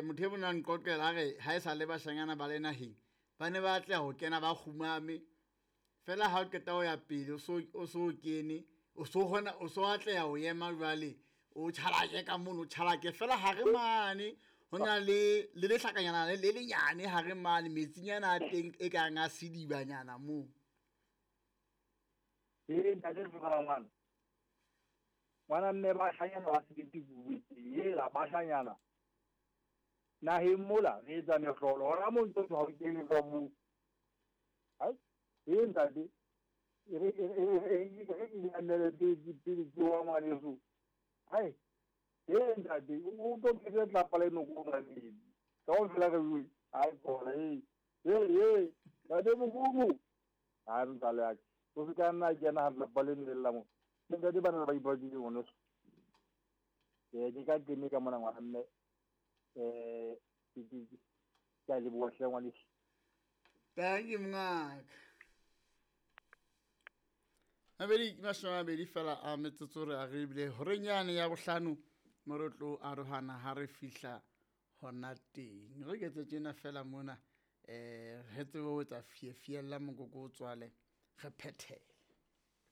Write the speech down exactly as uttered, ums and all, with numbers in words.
um motho e bonang qoqela a re ha e sa le bashanyana ba le naheng ba ne ba atleha ho kena ba kgumame fela ha o qeta ho ya pele o so o so kene o so kgona o so atleha ho ema jwale o tjhalake ka mono o tjhalake fela hare mane ho na le le lehlakanyana le le lenyane hare mane metsinyana a teng e kang a sedibanyana moo. Ee ntate tlogela ngwana ngwana mme bashanyana ba sebete bobedi ela bashanyana naheng mola re etsa mehlolo hona mo ntse ha o kene ka moo. Ai ee ntate e re e e e emele pele pele ke wa ngwaneso. Ai ee ntate o tlo kete tlapa le noko ka metsi kaofela re bue ai bona ee ee ee ntate mokubu a ntsale ya o se ka nna kena ha tlapa le lla mo ntate bana ba ipakile ngwaneso. Ee ke ka kene ka mona ngwana mme eh ke ke ke a leboha hle ngwaneso. Thank you mongaka. Mabedi mashome a mabedi fela a metsotso re a re ebile horeng yane ya bohlano mo re tlo arohana ha re fihla hona teng. Re ketse tjena fela mona eh re tsebe ho etsa fiefiella mokoko o tswale re phethele.